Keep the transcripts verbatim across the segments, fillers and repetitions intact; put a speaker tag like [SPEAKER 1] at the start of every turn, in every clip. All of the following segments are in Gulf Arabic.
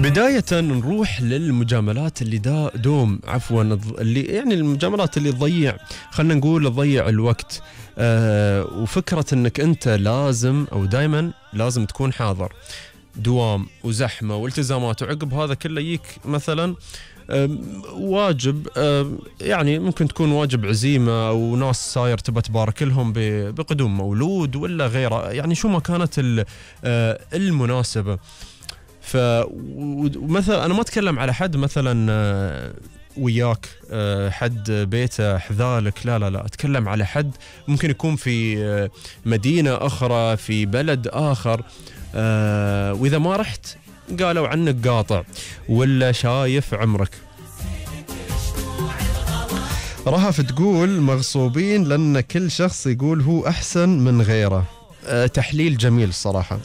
[SPEAKER 1] بداية نروح للمجاملات اللي دا دوم عفوا اللي يعني المجاملات اللي تضيع، خلنا نقول تضيع الوقت. أه وفكرة انك انت لازم او دايما لازم تكون حاضر، دوام وزحمة والتزامات، وعقب هذا كله يجيك مثلا واجب، يعني ممكن تكون واجب عزيمة أو ناس صاير تبى تبارك لهم بقدوم مولود ولا غيره، يعني شو ما كانت المناسبة. فمثلا أنا ما أتكلم على حد مثلا وياك حد بيته حذالك، لا لا لا، أتكلم على حد ممكن يكون في مدينة أخرى في بلد آخر، وإذا ما رحت قالوا عنك قاطع ولا شايف عمرك. رهف تقول مغصوبين لأن كل شخص يقول هو أحسن من غيره. أه تحليل جميل الصراحة.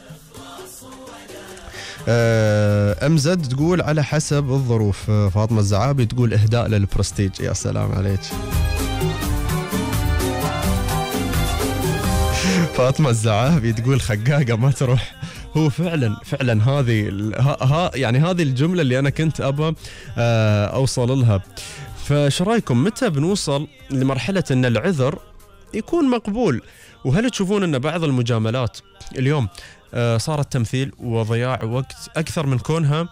[SPEAKER 1] أه أمزد تقول على حسب الظروف. فاطمة الزعابي تقول إهداء للبرستيج. يا سلام عليك. فاطمة الزعابي تقول خقاقة ما تروح. هو فعلا فعلا هذه ها يعني هذه الجملة اللي أنا كنت أبى أوصل لها. فش رايكم متى بنوصل لمرحلة أن العذر يكون مقبول؟ وهل تشوفون أن بعض المجاملات اليوم صارت تمثيل وضياع وقت أكثر من كونها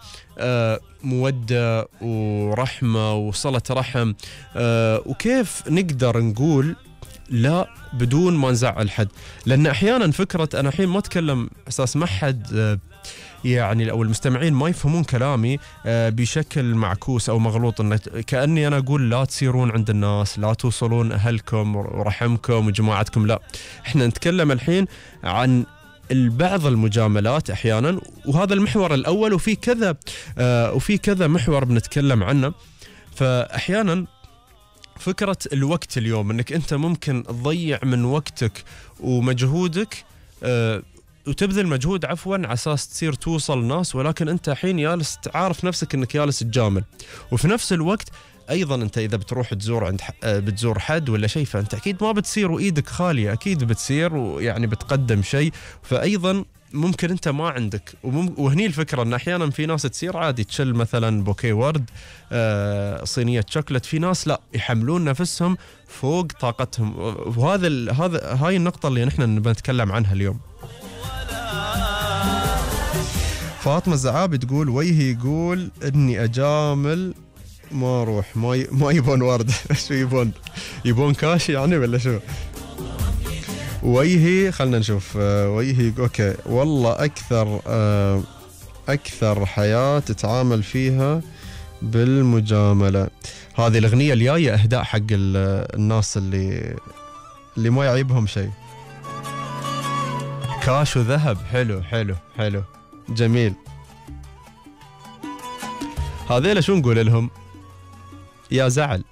[SPEAKER 1] مودة ورحمة وصلة رحم؟ وكيف نقدر نقول لا بدون ما نزعل حد؟ لأن أحيانا فكرة أنا الحين ما أتكلم أساس ما حد يعني أو المستمعين ما يفهمون كلامي بشكل معكوس أو مغلوط، إن كأني أنا أقول لا تصيرون عند الناس، لا توصلون أهلكم ورحمكم وجماعتكم. لا، إحنا نتكلم الحين عن بعض المجاملات أحيانا، وهذا المحور الأول، وفي كذا وفي كذا محور بنتكلم عنه. فأحيانا فكرة الوقت اليوم انك انت ممكن تضيع من وقتك ومجهودك أه وتبذل مجهود عفوا على اساس تصير توصل ناس، ولكن انت حين جالس تعرف نفسك انك جالس تجامل. وفي نفس الوقت ايضا انت اذا بتروح تزور عند بتزور حد ولا شيء، فانت اكيد ما بتصير وايدك خالية، اكيد بتصير ويعني بتقدم شيء. فايضا ممكن انت ما عندك، وهني الفكره ان احيانا في ناس تصير عادي تشل مثلا بوكيه ورد، آه صينيه شوكلت، في ناس لا يحملون نفسهم فوق طاقتهم. وهذا هذا هاي النقطه اللي نحن بنتكلم عنها اليوم. فاطمه الزعابي تقول ويهي يقول اني اجامل ما اروح، ما ما يبون ورد. شو يبون؟ يبون كاش يعني ولا شو؟ ويهي خلنا نشوف. ويهي اوكي والله اكثر اكثر حياة تتعامل فيها بالمجاملة. هذه الاغنية الجاية اهداء حق الناس اللي اللي ما يعيبهم شيء. كاش وذهب، حلو حلو حلو جميل. هذيلا شو نقول لهم؟ يا زعل.